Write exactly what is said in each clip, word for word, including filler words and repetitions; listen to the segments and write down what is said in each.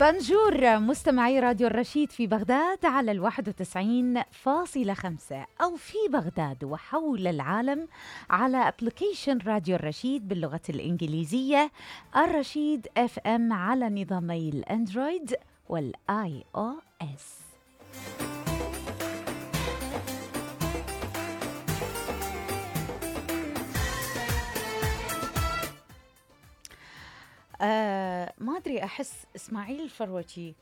بنجور مستمعي راديو الرشيد في بغداد على الواحد وتسعين فاصلة خمسة أو في بغداد وحول العالم على أبليكيشن راديو الرشيد باللغة الإنجليزية الرشيد اف ام على نظامي الأندرويد والآي أو إس. آه ما أدري، أحس إسماعيل الفروتي،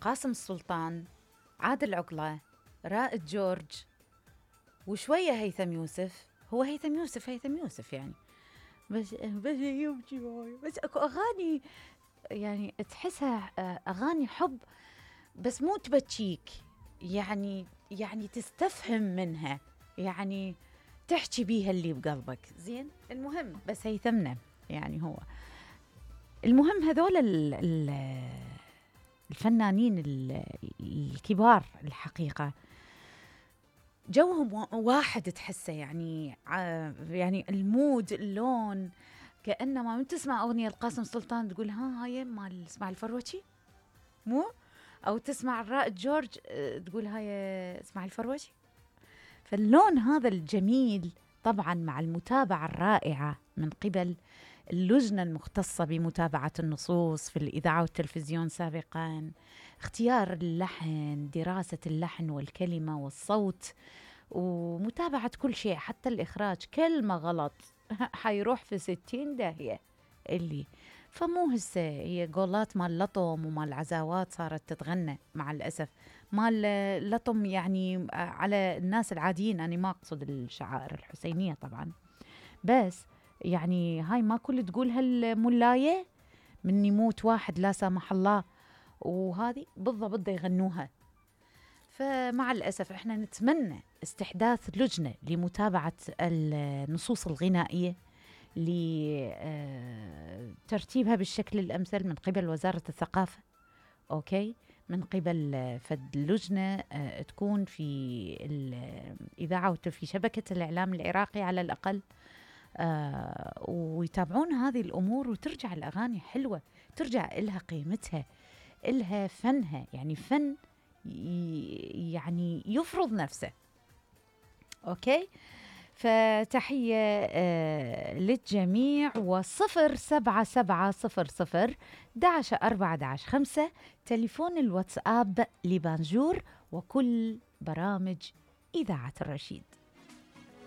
قاسم السلطان، عادل عقلة، رائد جورج، وشوية هيثم يوسف. هو هيثم يوسف هيثم يوسف يعني بس بس يمشي بس اكو اغاني يعني تحسها اغاني حب بس مو تبكيك، يعني يعني تستفهم منها، يعني تحكي بيها اللي بقلبك. زين المهم بس هيثمنا يعني هو المهم هذول الفنانين الكبار الحقيقة جوهم واحد تحسه، يعني يعني المود اللون كأنما من تسمع أغنية القاسم سلطان تقول ها هاي مال اسماعيل الفروتي مو، أو تسمع الرائد جورج تقول هاي اسماعيل الفروتي. فاللون هذا الجميل طبعا مع المتابعة الرائعة من قبل اللجنة المختصة بمتابعة النصوص في الإذاعة والتلفزيون سابقاً، اختيار اللحن، دراسة اللحن والكلمة والصوت، ومتابعة كل شيء حتى الإخراج. كلمة غلط حيروح في ستين داهية اللي فمو هسه هي قولات مال لطم ومال عزاوات صارت تتغنى مع الأسف، مال لطم يعني على الناس العاديين. أنا ما أقصد الشعائر الحسينية طبعاً، بس يعني هاي ما كل تقولها الملاية من يموت واحد لا سامح الله، وهذه بالضبط يغنوها. فمع الأسف احنا نتمنى استحداث لجنة لمتابعة النصوص الغنائية لترتيبها بالشكل الأمثل من قبل وزارة الثقافة، أوكي، من قبل فد لجنة تكون في الإذاعة وفي شبكة الإعلام العراقي على الأقل، آه ويتابعون هذه الأمور وترجع الأغاني حلوة، ترجع إلها قيمتها، إلها فنها، يعني فن يعني يفرض نفسه. أوكي، فتحية آه للجميع. وصفر سبعة سبعة صفر صفر داش أربعة داش خمسة تليفون الواتساب لبانجور وكل برامج إذاعة الرشيد.